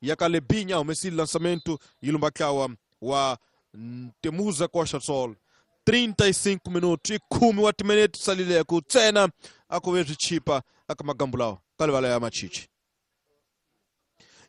Ya ka Lebinha humesile lançamento yi lumba ntlawa wa Temuza Costa Sol. 35 minutos i khume wa timinete salileko ntsena a ku ve swi chipa aka magambu lawa ka livala ya Machichi.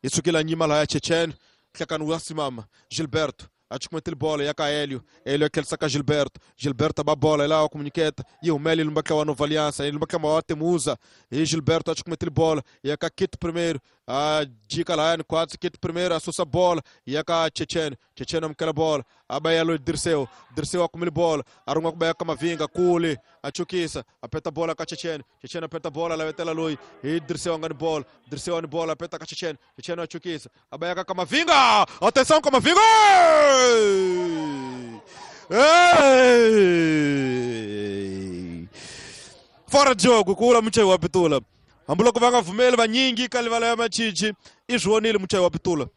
Yi sukela nyima laha ya Chechen nhlekani wa simama Gilberto a chukumetile bola ya ka Helio. Helio a tlherisa ka Gilberto. Gilberto a ba bola yi lava ku nyiketa yi humela yi lumba ntlawa wa Nova Aliança yi lumba ntlawa wa Temuza hi Gilberto a chukumetile bola ya ka Kit primeiro a jika lahayani khwatsi Kit primeiro a susa bola ya ka Chechen. Chechen amukela bola a ba ya loyi Dirceu. Dirceu a kumile bola a rin'wa ku ba ya ka Mavinga kule a chukisa a peta bola ka Chechen. Chechen a peta bola a lavetela loyi hi Dirceu a nga ni bola. Dirceu a ni bola a peta ka Chechen. Chechen a chukisa a ba ya ka Kamavinga. Atenção Kamavinga! Hey! Fora de jogo ku vula muchayi wa pitula. Hambiloko va nga pfumeli vanyingi ka livala ya Machichi i swi vonile muchayi wa pitula.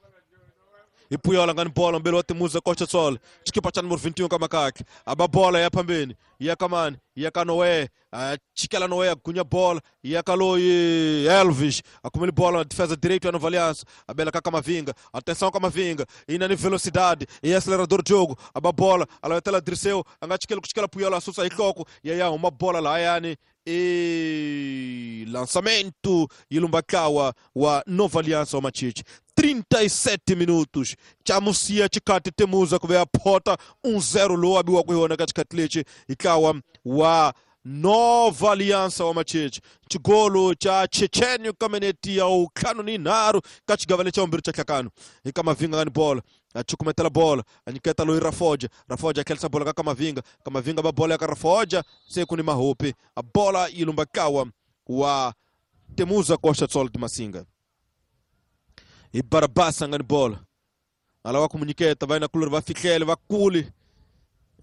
Hi Puyola nga ni bola mbeli wa Timuza Costa Sol xikipa xa numero 21 ka makakhe a ba bola ya phambeni ya ka mani ya ka Noé a chikela Noé a gunya bola ya ka loyi Elvis a kumile bola defesa direito ya Nova Aliança a bela ka Kamavinga. Atenção Kamavinga ina ni velocidade e acelerador de jogo a ba bola a lavetela Dirceu a nga chikeli ku chikela Puyola a susa hi nhloko ya ya huma bola lahayani e lançamento yi lumba ntlawa wa Nova Aliança wa Machichi. 37 minutos chamusiya xikati Temuza ku ve ya phota 1-0 lowu a biwaka hi wona ka xikati lexi hi ntlawa wa Nova Aliança wa Machichi. Xigolo xa Chechenyo ka minete ya ntlhanu ni nharhu ka xigava lexa vumbirhi xa nhlakano hi Kamavinga nga ni bola a chukumetela bola a nyiketa loyi Rafoja. Rafoja a tlherisa bola ka Kamavinga. Kamavinga ba bola ya ka Rafoja se ku ni mahopi a bola yi lumba ntlawa wa Temuza Costa Sol de Massinga. Hi Barabasa nga ni bola a lava ku mu nyiketa va yinakulori va fihlele va kuli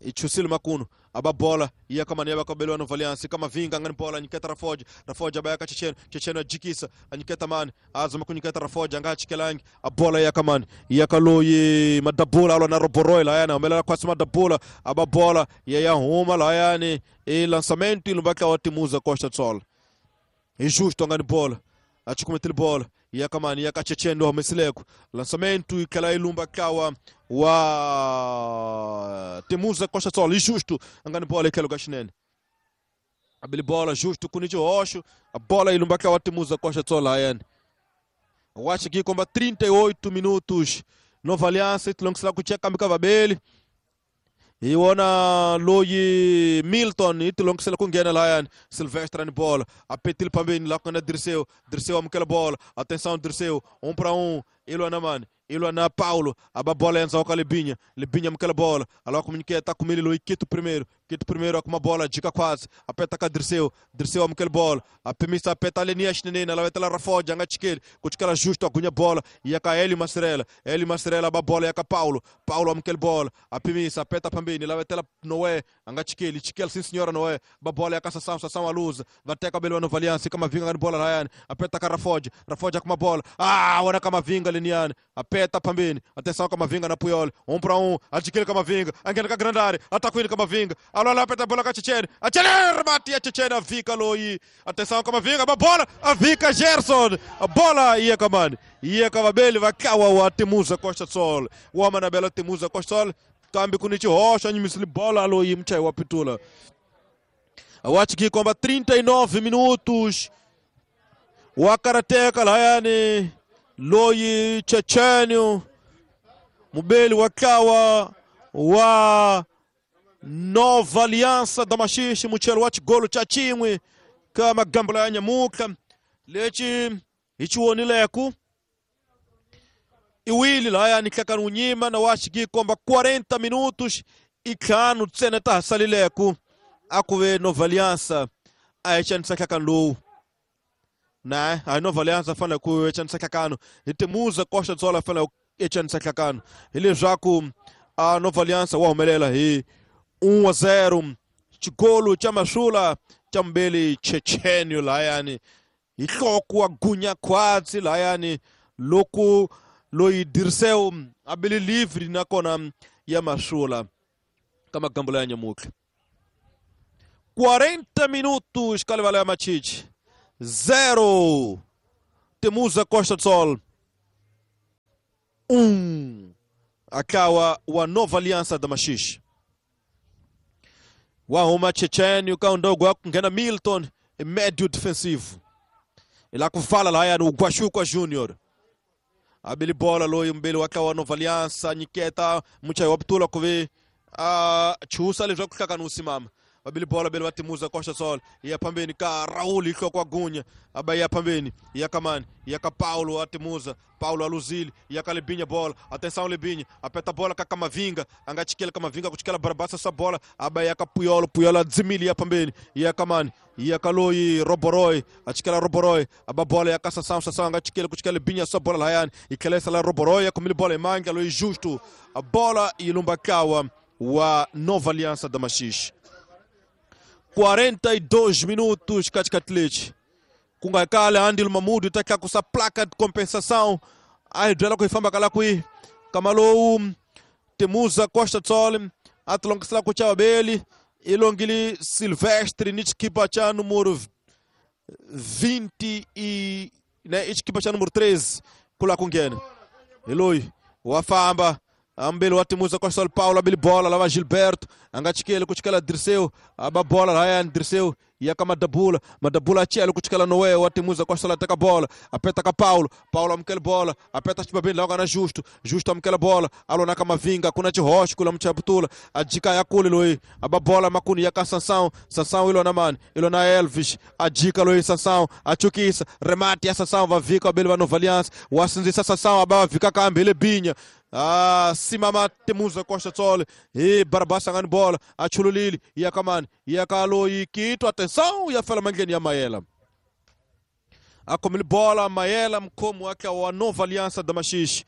i chusile makunu a ba bola ya ka mani ya va ka beliwa Nova Aliança Kamavinga nga ni bola a nyiketa Rafoja. Rafoja ba ya ka Checheno. Checheno a jikisa a nyiketa mani a zama ku nyiketa Rafoja a nga ha chikelangi a bola ya ka mani ya ka loyi Madabula a lwa na Roboroy lahayani a humelela khwatsi Madabula a ba bola ya ya huma lahayani i lançamento yi lumba ntlawa wa Timuza Costa Sol. Hi Justo nga ni bola a chukumetile bola ya ka mani ya ka Chechen lowu humesileko lançamento yi tlhela yi lumba ntlawa wa Temuza Costa Sol. Hi Justo a nga ni bola hi tlhelo ka xinene a bile bola Justo ku ni xihoxo a bola yi lumba ntlawa wa Temuza Costa Sol lahayani. Wachi ki komba 38 minutos Nova Aliança yi tilongisela ku cheka kambe ka vabeli hi wona loyi Milton yi tilongisela ku nghena lahayani. Silvestre ni bola a petile phambeni laha ku nga na Dirceu. Dirceu amukela bola atenção Dirceu 1 para 1 i lwa na mani i lwa na Paulo a ba bola endzhaku ka Lebinha. Lebinha amukela bola a lava ku nyiketa kumile loyi Kito primeiro. Kito primeiro a kuma bola jika khwatsi a peta ka Dirceu. Dirceu amukela bola a pimisa a peta leniya xineneni a lavetela Rafoja a nga chikeli ku chikela Justo a gunya bola ya ka Helio Masirela. Helio Masirela a ba bola ya ka Paulo. Paulo amukela bola a pimisa a peta phambeni lavetela Noé a nga chikeli chikela sim senhora Noé ba bola ya ka Sassam. Sassam a luza va teka beliwa Nova Aliança Kamavinga nga ni bola lahayani a peta ka Rafoja. Rafoja a kuma bola ah wona Kamavinga leniyani a peta phambeni atenção Kamavinga na Puyol 1 para 1 a chikeli Kamavinga a nghena ka grande área atakwini Kamavinga alwa peta bola ka Chechene a Chechene remate ya Chechene a vika loyi atenção Kamavinga ba bola a vika Gerson a bola ia ka mani ia ka vabeli va ntlawa wa Temuza Costa Sol wa manabela Temuza Costa Sol kambe ku ni xihoxo a nyimisile bola loyi muchayi wa pitula. Wachi ki komba 39 minutos wa karateka lahayani loyi Chechenyo mubeli wa ntlawa wa Nova Aliança da Maxixe muchelo wa xigolo xa xin'we ka magambo ya nyamuka lexi hi xi wonileku i wili lahayani nhlakani wu nyima na wa xiki komba 40 minutos i ntlhanu ntsena ta ha salileku a ku ve Nova Aliança a hi xanisa nhlakani lowu na a hi Nova Aliança fanele ku xanisa nhlakano hi Temuza Costa Sol fanele ku xanisa nhlakano hileswaku a Nova Aliança wa humelela hi 1-0 xigolo xa Masula xa mbeli Chechenyo lahayani hi nhloko wa gunya khwatsi lahayani loko loyi Dirceu a bile livre nakona ya Masula ka magambo ya nyamutlha. 40 minutos ka livala ya Machichi 0 Temuza Costa Sol. 1 akawa wa Nova Aliança da Maxixe. Wa huma Chechênio ka ndogo wa kunghena Milton médio defensivo. Ila kuvala lahayani Ugwashuka Junior. Abili bola loyi mbili wakawa Nova Aliança nyiketa muchayi wa butula kuve chusa leswaku hlakani wu simama. Abili bola bele vatimuza Costa Sol ya pambeni ka Raul ihloko Gunya aba ya pambeni ya Kamani ya ka Paulo atimuza Paulo aluzili ya ka Lebinha bola atenção Lebinha apeta bola ka Kamavinga angachikela Kamavinga kuchikela Barabasa sa bola aba ya ka Puyolo Puyolo adzimili ya pambeni ya Kamani ya Kaloi Roboroi achikela Roboroi aba bola ya ka Sassão Sassão angachikela kuchikela Lebinha sa bola layani ikelesa la Roboroi ya kumili bola imanga loi justo a bola ilumba kawa wa Nova Aliança da Maxixe. 42 minutos katikati kungakale Andil Mamudu taka kusa placa de compensação ai dela ku ifamba kala kui kamalou Temuza Costa Tsol atlongisela ku chabeli ilongili Silvestre nichikipa cha número 20 e né ichikipa cha número 13 kula kungena Eloi wafamba ambele watimuza Costa Paulo abili bola lava Gilberto angachikele kuchikela Dirceu aba bola Ryan Dirceu yaka Madabula Madabula achele kuchikela Noé watimuza Costa la taka bola apeta ka Paulo Paulo amkele bola apeta chibabeni la kana Justo Justo amkele bola alona kamavinga kuna chihoshi kula mchaputula ajika yakule loi aba bola makuni yaka Sansão Sansão ilona mani ilona Elvis ajika loi Sansão achukisa remate ya Sansão vavika abele va Nova Aliança wasinzisa Sansão aba vika kambele binya simama Temuza Costa Tsole e Barabasa ngani bola achululili yakamani yakaloi kito atenção yafela mangeni ya Maela akomili bola Maela mkomo wake wa Nova Aliança da Maxixe.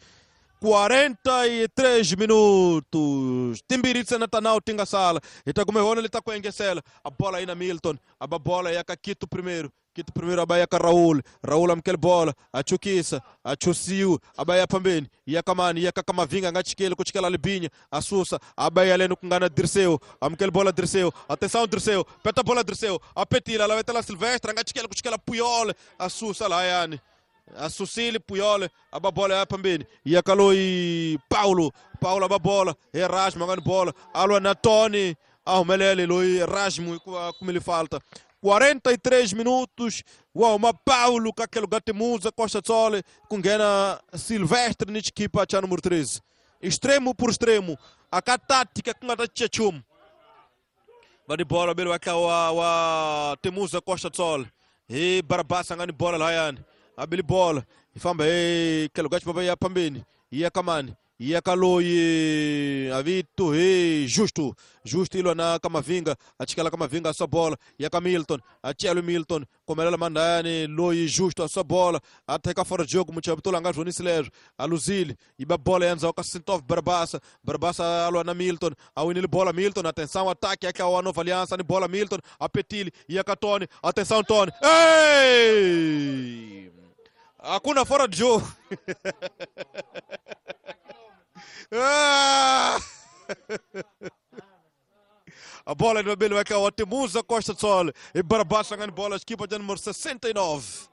43 minutos timbiritsa natanao tinga sala itakumehona litakuengesela a bola ina Milton aba bola yakakito primeiro Kito primeiro abaya ka Raul Raul amkele bola achukisa achusiu abaya pambeni yakamani yakakamavinga ngachikele kuchikela Libinha asusa abaya leno kungana Dirceu amkele bola Dirceu atenção Dirceu peta bola Dirceu apetila la vetela Silvestre ngachikele kuchikela Puyol asusa la yani Asusili Puyol ababola ya pambeni yakaloi Paulo Paulo ababola Erasmo ngani bola alwa na Tony ahumelele loi Erasmo kumele falta. 43 minutos, uau, uma Paulo kakelo Gatemuza Costa Tsole kungena Silvestre nichikipa cha número 13. Extremo por extremo, a tática kungata chachum. Vani bola bele waka wa Temuza Costa Tsole. E Barabasa ngani bola layani. Abili bola, ifamba e kelo gachi baba ya pambeni, ya kamani. Yakaloi avito e Justo Justo ilona Kamavinga achikala Kamavinga a sua bola yaka Milton achelo Milton komelela mandani loi Justo a sua bola ateka fora de jogo muchabutula ngazvonisi lezvo aluzili iba bola yanza ka Sintov Barabasa Barabasa alwa na Milton awinile bola Milton atenção ataque yaka wa Nova Aliança ni bola Milton apetili yaka Tony atenção Tony ei hakuna fora de jogo. A bola do Abel vai cair o Temuza Costa Sol e Barabasa ganha bola, equipa de número 69.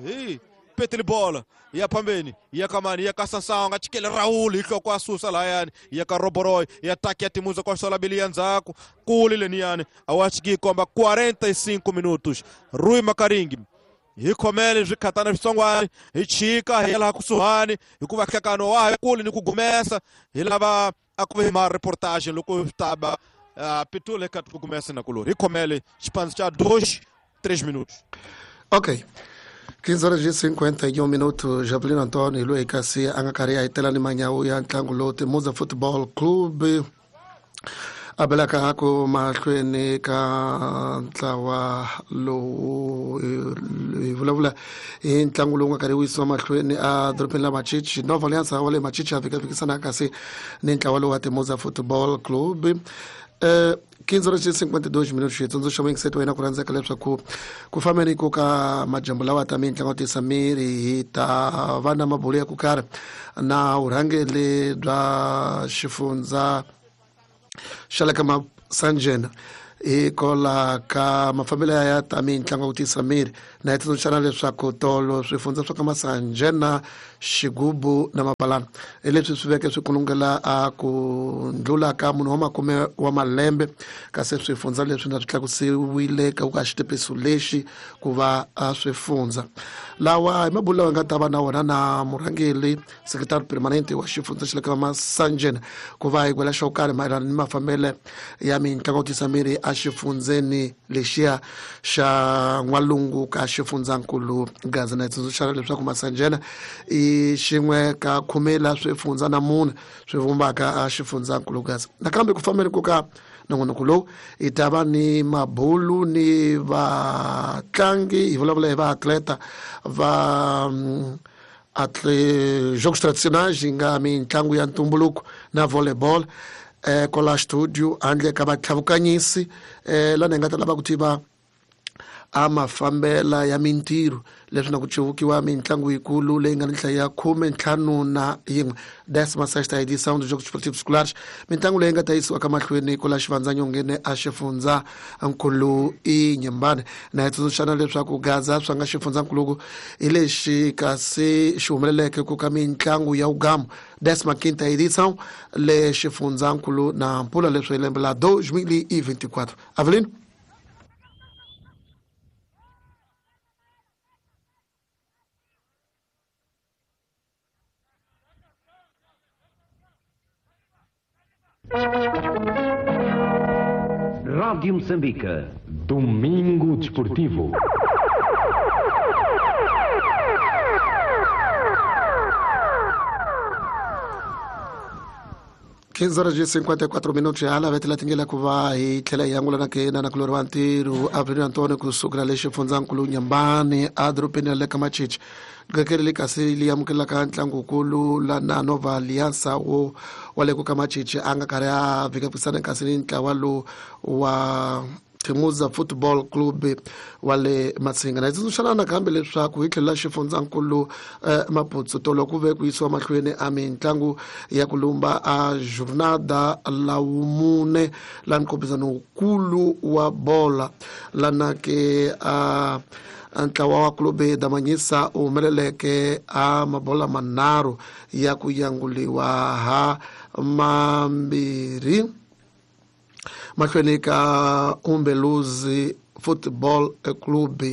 E petele bola, e a Pambeni, e a Kamani, e a Kassansão, a Tchikele Raul, e com a Sussa Laiane, e a Roboroi, e ataque a Temuza Costa Sol, Abelianzaco, Kuli Leniane, a Watchgi comba 45 minutos. Rui Makaringi. Hi khomele swikhatana switsongwana hi chika hi laha kusuhani hikuva nhlekano wa ha kuli ni ku gumesa hi lava a ku ma reportage loko taba pitule ka ku gumesa na kulori hi khomele xipano xa 2 3 minutos. Ok, 15 horas e 51 minutos. Javelino Antônio loyi kasi a nga karhi a hitela ni manyawu ya ntlangu lowu Temuza Football Club a belaka ku mahlweni ka ntlawa lowu hi vulavula hi ntlangu lowu nga karhi wu yisiwa mahlweni a dorobeni la Machichi. Nova Aliança wa le Machichi a fikafikisana kasi ni ntlawa lowu wa Temuza Football Club. 15 horas e 52 minutos. Hi tsundzuxa muyingiseti wa yena ku rhandzeka leswaku ku fambeni ku ka majambu lawa ta mitlangu tisa miri hi ta va na mabulo ya ku karhi na vurhangeri bya xifundza xa le ka Masanjena hi kola ka mafambelo ya ta mitlangu ya ku tiyisa miri na hi tsundzuxana leswaku tolo swifundza swa ka Masanjena, Xigubu na Mabalana hi leswi swi veke swi kulungela a ku ndlula ka munhu wa makume wa malembe, kasi swifundza leswi na swi tlakusiwile ka ka xitepiso lexi ku va a swifundza lawa hi mabulo lawa hi nga ta va na wona na murhangeri sekretari permanente wa xifundza xa le ka Masanjena ku va hi gwela xo karhi mayelana ni mafambele ya mitlangu ya ku tiyisa miri exifundzeni lexiya xa n'walungu ka xifundzankulu Gaza. Na hi tsundzuxana leswaku Masanjena i xin'we ka khume la swifundza na mune swi vumbaka a xifundzankulu Gaza. Nakambe ku fambeni ku ka nongonoko lowu hi ta va ni mabulu ni vatlangi, hi vulavula hi vaatleta va jogos tradicionais yi nga mitlangu ya ntumbuluko na volleyball kwala studio handle ka vatlhavukanyisi lana hi nga ta lava ku tiva a mafambela ya mintirho leswi na ku cevukiwa mitlangu yikulu leyi nga ni nhlayo ya 51 décima sexta edição dos Jogos Esportivos Escolares, mitlangu leyi nga ta yisiwa ka mahlweni kwala xivandzanyongeni a xifundza nkulu i Nyembane. Na hi tsundzuxana leswaku Gaza swa nga xifundzankuluku hi lexi kasi xi humeleleke ku ka mitlangu ya ugamu décima quinta edição le xifundzankulu na mpula leswi hi lembe la 2024. Avelino. Rádio Moçambique. Domingo Desportivo. 15:54 hala vetela tingela ku va hi tlhela hi angula na ke na nakulori wa ntirho Avelino Antonio kusukela le xifundzankulu Nyambani edorobeni ra le ka Machichi qekele le kasi li amukelaka ntlangukulu la na Nova Aliança wo wa le ku ka Machichi a nga karhi a vhikaphisana kasi ni ntlawa lowu wa Timuza Football Club wa le Matsinga. Na hi tsundzuxana nakambe leswaku hi tlhelo la xifundzankulu Maputsu tolo ku ve ku yisiwa mahlweni a mitlangu ya ku lumba a jornada la wumune la nkombisano wukulu wa bola lana ke a ntlawa wa Clube da Manyisa u humeleleke a mabola manharhu ya ku yanguliwa ha mambirhi mahlweni ka Umbeluzi Football Club.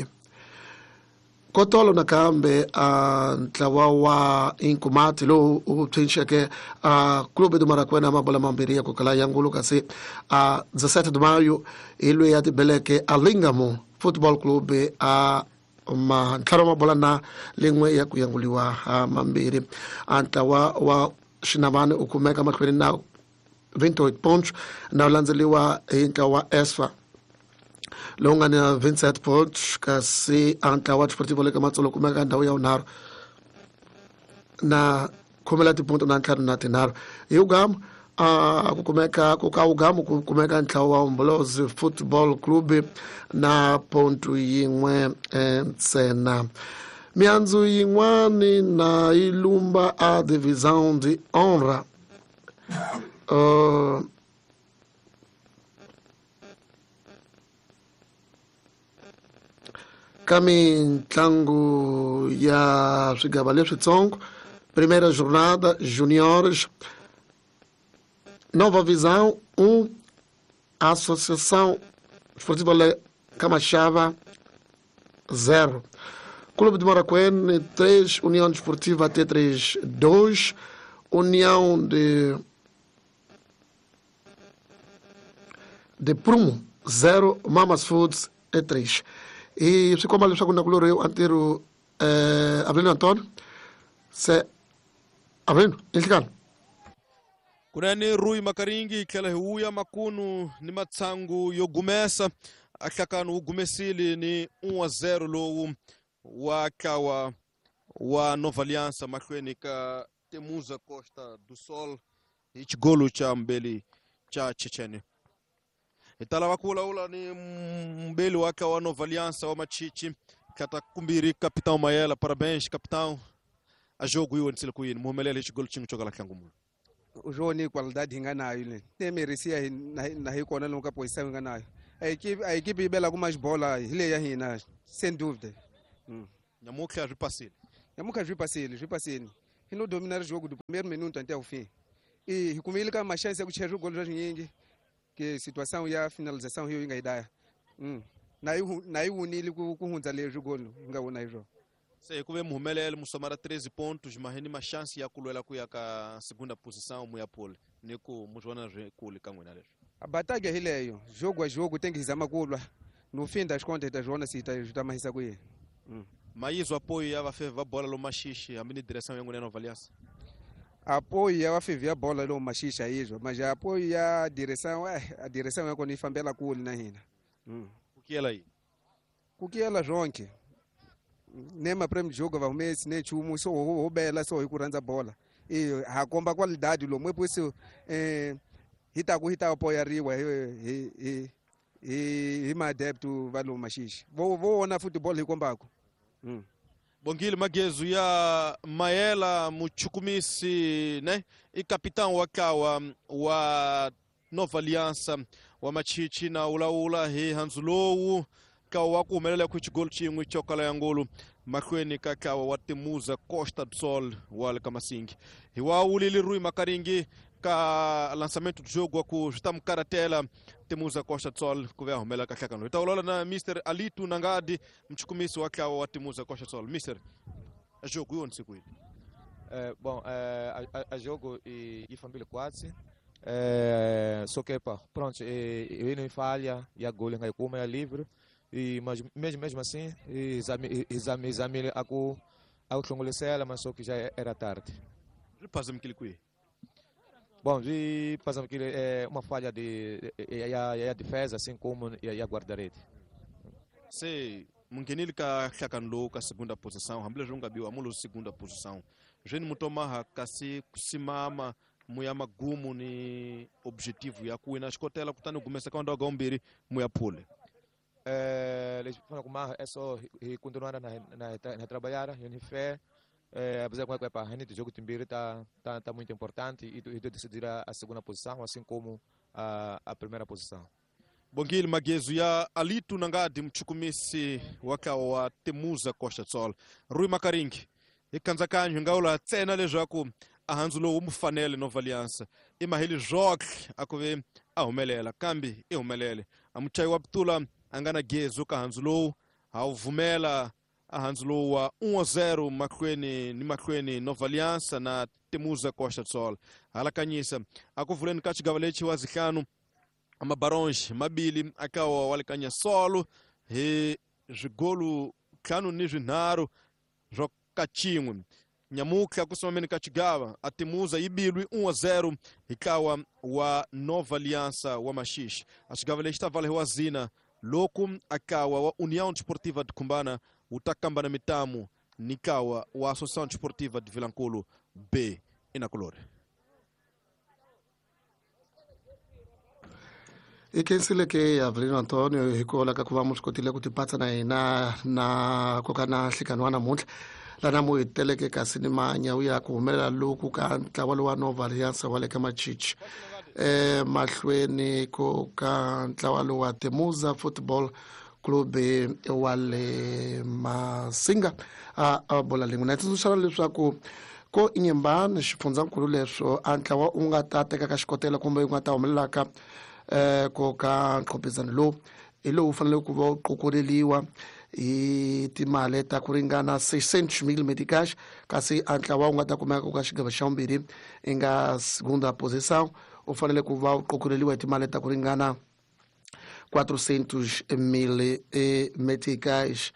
Kotolo nakambe a ntlawa wa Inkumati lowu u phinxeke a Clube do Marakwena mabola mambirhi ya ku kala yangulu, kasi a 17 de maio hi loyi ya tibeleke a Lingamo Football Club a mantlhanu mabola na lin'we ya ku yanguliwa ha mambirhi. A ntlawa wa Xinavani u kumeka mahlweni na 28 pontos na landzeliwa hi ntlawa wa Esfa lowu nga na 27 pontos, kasi a ntlawa wa Desportivo le ka Matsolo kumeka ndhawu ya vunharhu na khumela tiponto na ntlhanu na tinharhu. Hi ugamu a ku kumeka ku ka ugamu ku kumeka ntlawa wa Umbolozi Football Club na ponto yin'we ntsena. Miandzu yin'wani na yi lumba a divisão de honra. Ka mitlangu ya swigava leswitsongo, primeira jornada juniores, Nova Visão 1, Associação Esportiva Camachava 0, Clube de Maracuene 3, União Desportiva T3 2, União de Prumo 0, Mamas Foods 3. E swi komba leswaku nakulori yo antirho Avelino Antonio se Avelino inhlikani kunene Rui Makaringi hi tlhela hi wuya makunu ni matshangu yo gumesa a hlakano wu gumesile ni 1-0 lowu wa ntlawa wa Nova Aliança mahlweni ka Temuza Costa do Sol hi xigolo xa mbeli xa Chechene. Hi ta lava ku vulavula ni mbeli wa ntlawa wa Nova Aliança wa Machichi tlata kumbirhi Capitão Mayela. Parabéns capitão, a jogo yi wonisile ku yini mu humelele hi xigolo xin'we xo kala ntlangu munhu? Joni qualidade hi nga nayo le ne merecia na hi kona lomu ka posição hi nga nayo. A equipe yi belaka mais bola hi leyi ya hina, sem dúvida. Nyamutlha swi pasile. Nyamutlha swi pasile, swi pasile. Hi no dominar jogo do primeiro minuto até o fim. E hi kumile ka ma chance ya ku chaya swigolo swa swinyingi, ke situação ya finalização hiyo yi nga yi daya. Na yi wunile ku hundza leswi golo hi nga wona hi swona. Se ku ve muhumelelo musomara 13 pontos, mas ni ma chance ya ku lwela ku ya ka segunda posição mu ya pole ni ku mu swi vona swi kule ka n'wina leswi. A batalha hi leyo, jogo a jogo tem que zama ku lwa. No fim das contas hi ta swi vona se hi ta mahisa ku yini. Mayizwa apoio ya vafevi va bola lomaxixi hambi ni direção ya n'wina ya Nova Aliança. Apoio ya vafevi ya bola lomu maxixa yizwa, mas apoio ya direção, a direção ya kona yi fambela kule na hina. Ku kiyela yini? Ku kiyela swonke. Ne maprêmio de jogo va humesi ne nchumu, so ho bela so hi ku rhandza bola. E ha komba qualidade lomu epusi hi ta ku hi ta apoyariwa hi maadepto va lomu maxixi. Vo vona football hi kombaka. Bongile Magezu ya Maela muchukumisi ne i capitão wa kawa wa Nova Aliança wa Machichi na ulaula hi handzu kawa wa ku humelela ku xigolo xin'we xo kala ya ngulu mahlweni ka kawa wa Temuza Costa do Sol wa le ka Masingi hi wa wulile Rui Makaringi ka lançamento do jogo wa ku swi ta mukaratela Temuza Costa do Sol ku ve a humelela ka nhlakano hi ta vulavula na Mr Alitu Nangadi muchukumisi wa kawa wa Temuza Costa do Sol. Mr, jogo yi onise kwini? Bom, a jogo e família quase. Só que pá, pronto, e não falha, e a gol em como é livre. E mas mesmo assim, exame a hlongolisela, mas só que já era tarde. Passamos aquele qui. Bom, vi passamos aquele é uma falha de a defesa, assim como a guarda-rede. Se mungenile ka hlakano lowu ka segunda posição, hambileswi nga biwa amulo segunda posição. Jeni mutomaha kasi kusimama muya magumu ni objetivo ya kuwina xikotela kutani gumesa ka ndhawu ka muya phule. É só continuar na trabalhar, em fé, apesar que a gente jogo timbiri tá muito importante e decidir a segunda posição, assim como a primeira posição. Bongile Magezu ya Alitu Nangadi mchukumisi wakawa wa Temuza Costa do Sol. Rui Makaringi ikanzakanyo ngaula tsena leswaku a handzu lowu mu fanele Nova Aliança i maheli joke akuve a humelela kambe i humelele a muchayi wa putula a nga na gezu ka handzu lowu a wu vumela a handzu lowu wa 1-0 mahlweni ni mahlweni Nova Aliança na Temuza Costa do Sol. Halakanyisa a ku vuleni ka xigava lexi wa zihlanu amabaronge mabili akawa walikanya solo hi swigolu ntlhanu ni swinharhu swa ka xin'we. Nyamutlha ku simameni ka xigava a Temuza yi bilwi 1-0 hi ntlawa wa Nova Aliança wa Maxixi. A xigava lexi ta vala hi wa zina loku akawa wa União Desportiva de Cumbana wu ta kamba na mitamu ni ntlawa wa Associação Desportiva de Vilankulu B inakulori. I khensile ke Avelino Antonio hikola ka ku va mu swi kotile ku tipatsa na hina na koka na nhlikani wa namuntlha lana mu hi teleke kasi ni manyawu ya ku humelela loku ka ntlawa lowa Nova Aliança wa le ka Machichi mahlweni ko ka ntlawa lowa Temuza Football Club wa le Masinga a bola lin'we na tsundzuxana leswaku ko Inhambane xifundzankulu leswo a ntlawa u nga ta tekaka xikotela kumbe u nga ta humelelaka ko ka nqopizano lowu hi lowu fanele ku va wu qokoleliwa hi timali ta ku ringana 600,000 meticais kasi a ntlawa wu nga ta kumeka ku ka xigava xa vumbirhi i nga segunda posição u fanele ku va wu qokoleliwa hi timali ta ku ringana 400,000 meticais.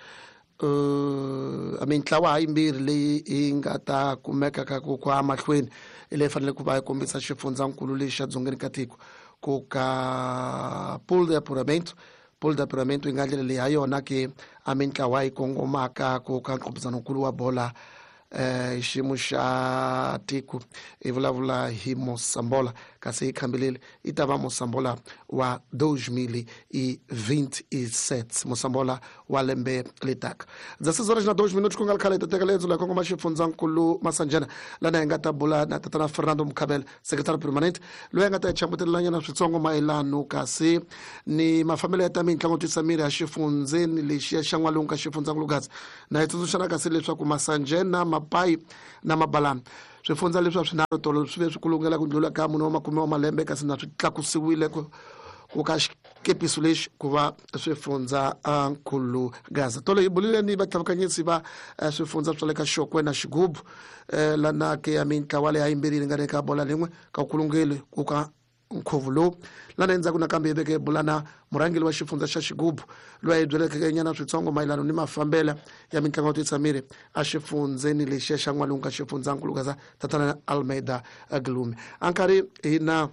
Mintlawa hayimbirhi leyi yi nga ta kumeka ka ku kwa mahlweni leyi fanele ku va yi kombisa xifundzankulu lexi xa dzongeni ka tiko ku ka pool de apuramento. Pool de apuramento yi nga ndlela leyi ha yona ke a mintlawa yi kongomaka ku ka nqopizanonkulu wa bola Xiyimo xa tiko hi vulavula hi Mosambola, kasi hi khambilile yi ta va Mosambola wa 2027, Mosambola wa lembe letaka. 16 horas na 2 minutos, ku nga ri khale hi ta teka lendzo la kongoma xifundzankulu Masanjana, lana hi nga ta bula na tatana Fernando Mukhabela, secretary permanent, loyi a nga ta hi chambutelelanyana switsongo mayelano kasi ni mafambelo ya ta mitlangu twisa miri ya xifundzeni lexiya xa n'walungu ka xifundzankulu Gaza, na hi tsundzuxana kasi leswaku Masanjena, Mapayi na Mabalana, swifundza leswi swinharhu, tolo swi ve swi kulungela ku ndlula ka mune wa makume wa malembe, kasi na swi tlakusiwile ku ka xikepiso lexi ku va swifundza nkulu Gaza. Tolo hi bulile ni vatlhavukanyisi va swifundza swa le ka Xokwe na Xigubu, lana ke ya mintlawa leyi yimbirhi yi ringaneke bola lin'we ka kulungeli ku ka nkhuvo lowu. Lana endzhaku nakambe hi veke bula na murhangeri wa xifundza xa Xigubu, loyi a hi byeleke nyana switsongo mayelano ni mafambela ya mitlangu yo tisa miri exifundzeni lexiya xa n'walungu ka xifundzankulu Gaza, tatana Almeida Glume. A nkarhi hi na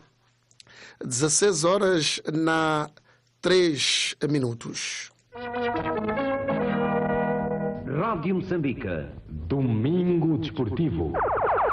16 horas na 3 minutos. Rádio Moçambique. Domingo Desportivo.